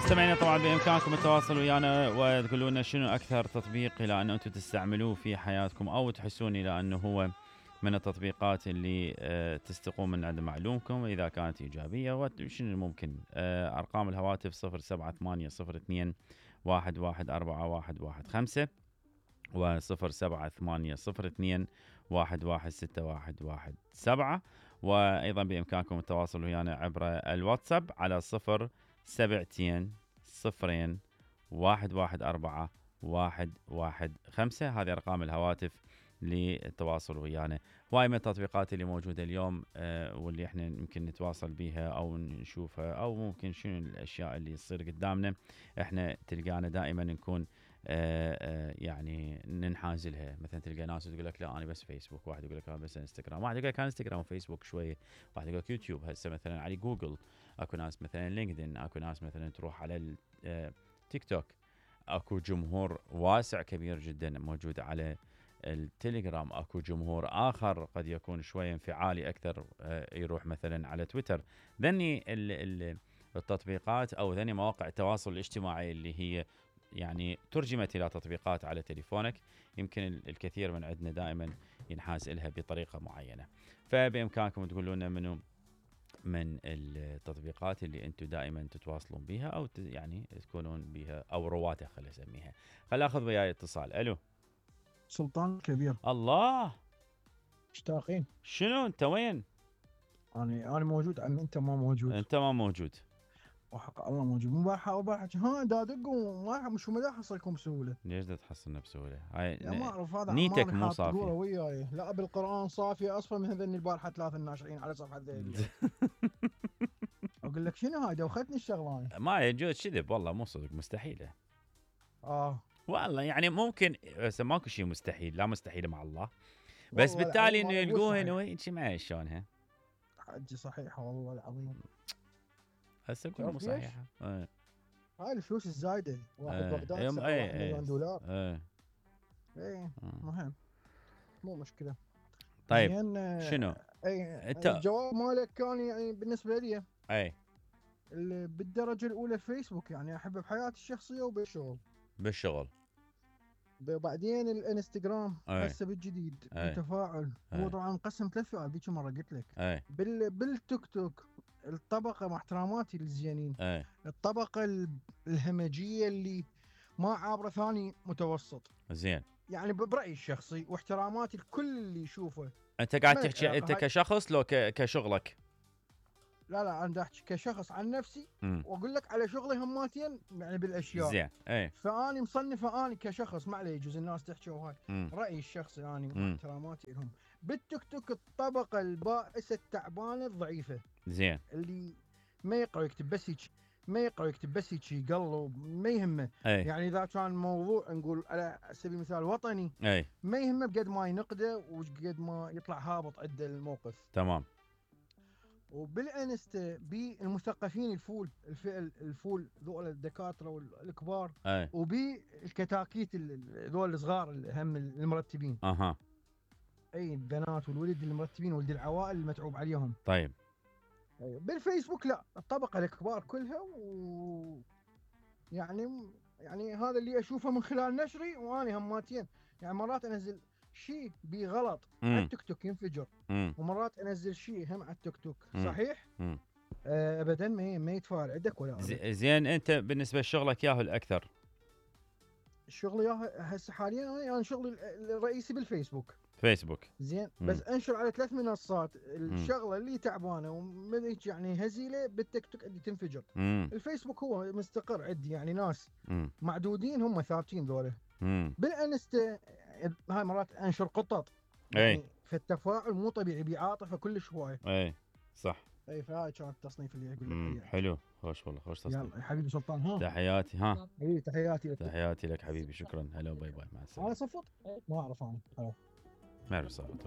مستمعينا طبعا بإمكانكم التواصل ويانا وتقولوا لنا شنو أكثر تطبيق إلى أن أنتم تستعملوه في حياتكم أو تحسون إلى أنه هو من التطبيقات اللي تستقون من عند معلومكم وإذا كانت إيجابية وشنو ممكن. أرقام الهواتف 07802 1141115 و 07802 1161117 وأيضا بإمكانكم التواصل ويانا عبر الواتساب على 072 0 114 115. هذه أرقام الهواتف للتواصل ويانا. هواي من التطبيقات اللي موجودة اليوم واللي احنا يمكن نتواصل بيها أو نشوفها أو ممكن شنو الأشياء اللي تصير قدامنا احنا تلقانا دائما نكون يعني ننحاز لها. مثلا تلقى ناس تقول لك لا انا بس فيسبوك، واحد يقول لك انا بس انستغرام، واحد يقول لك انا انستغرام وفيسبوك شويه، واحد يقول لك يوتيوب. هسه مثلا على جوجل اكو ناس مثلا لينكدين، اكو ناس مثلا تروح على التيك توك، اكو جمهور واسع كبير جدا موجود على التليجرام، اكو جمهور اخر قد يكون شويه انفعالي اكثر يروح مثلا على تويتر. ذني التطبيقات او ذني مواقع التواصل الاجتماعي اللي هي يعني ترجمت إلى تطبيقات على تليفونك. يمكن الكثير من عندنا دائما ينحاز إلها بطريقة معينة، فبإمكانكم تقولوا لنا منو من التطبيقات اللي أنتم دائما تتواصلون بها أو يعني تكونون بها أو رواتها. خلي أسميها. خلي أخذ وياي اتصال. ألو سلطان كبير. الله مشتاقين. شنو أنت وين؟ أنا موجود عم أنت ما موجود. أنت ما موجود. وحق الله موجود. مبارحة ها دا دقوا ما مش ما احصلكم بسهوله. ليش دا تحصلنا بسهوله؟ ما اعرف هذا نيتك مو صافيه وياي. لا بالقران صافيه اصفى من هذني البارحه 3 الناشرين على صفحه ذيل. اقول لك شنو هاي دوختني الشغلانه. ما يجوز كذب والله مو صدق مستحيله. والله يعني ممكن بس ماكو شيء مستحيل، لا مستحيل مع الله، بس بالتالي انه يلقوها انه ما شلونها حجي صحيحه والله العظيم. هسه كل مو صحيحه. هاي الفلوس الزايده واحد بغداد $1 مليون. اي مهم مو مشكله. طيب شنو الجواب مالك كان يعني بالنسبه لي اي بالدرجه الاولى فيسبوك، يعني احبه بحياتي الشخصيه وبالشغل. بعدين الانستغرام هسه بالجديد التفاعل هو طبعا مقسم 3 فئات ذيك مره قلت لك. بالتيك توك الطبقه مع احتراماتي للزينين، الطبقه الهمجيه اللي ما عابره ثاني متوسط زين، يعني برايي الشخصي واحتراماتي لكل اللي يشوفه. انت قاعد تحكي انت كشخص لو كشغلك؟ لا انا احكي كشخص عن نفسي واقول لك على شغلي هماتين يعني بالاشياء. زين فاني مصنفه اني كشخص، ما عليه يجوز الناس تحكي وهاي رايي الشخصي اني واحتراماتي لهم. بالتيك توك الطبقه البائسه التعبانه الضعيفه، زين، اللي ما يقرأ يكتب بس هيك، ما يقرأ يكتب بس هيك يقلب ما يهمه. يعني اذا كان موضوع نقول على سبيل المثال وطني ما يهمه بقد ما ينقده وقد ما يطلع هابط عنده الموقف. تمام. وبالانستا بالمثقفين الفول ذول الدكاتره والكبار، وبالكتاكيت ذول الصغار هم المرتبين. اي البنات والولد المرتبين ولد العوائل المتعوب عليهم. طيب بالفيسبوك لا، الطبقه الكبار كلها يعني هذا اللي اشوفه من خلال نشري وانا هماتين. يعني مرات انزل شيء بغلط على التيك توك ينفجر، ومرات انزل شيء هم على التيك توك صحيح ابدا ما يتفاعل عندك ولا زين. انت بالنسبه لشغلك ياهو الاكثر؟ الشغل ياهو هسه حاليا يعني شغلي الرئيسي بالفيسبوك. زين بس انشر على 3 منصات. الشغله اللي تعبانه وملك يعني هزيله بالتيك توك عندي تنفجر. الفيسبوك هو مستقر عندي، يعني ناس معدودين هم ثابتين ذولا. بالانستا هاي مرات انشر قطط يعني في التفاعل مو طبيعي بعاطفه كلش هوايه. صح. فهاي كانت التصنيف اللي اقول لك. حلو، خوش والله، خوش تصنيف. يلا يا حبيبي سلطان. تحياتي. تحياتي لك حبيبي، شكرا. هلا باي باي، مع السلامه. انا صفط ما اعرف انا. ما اعرف صفط.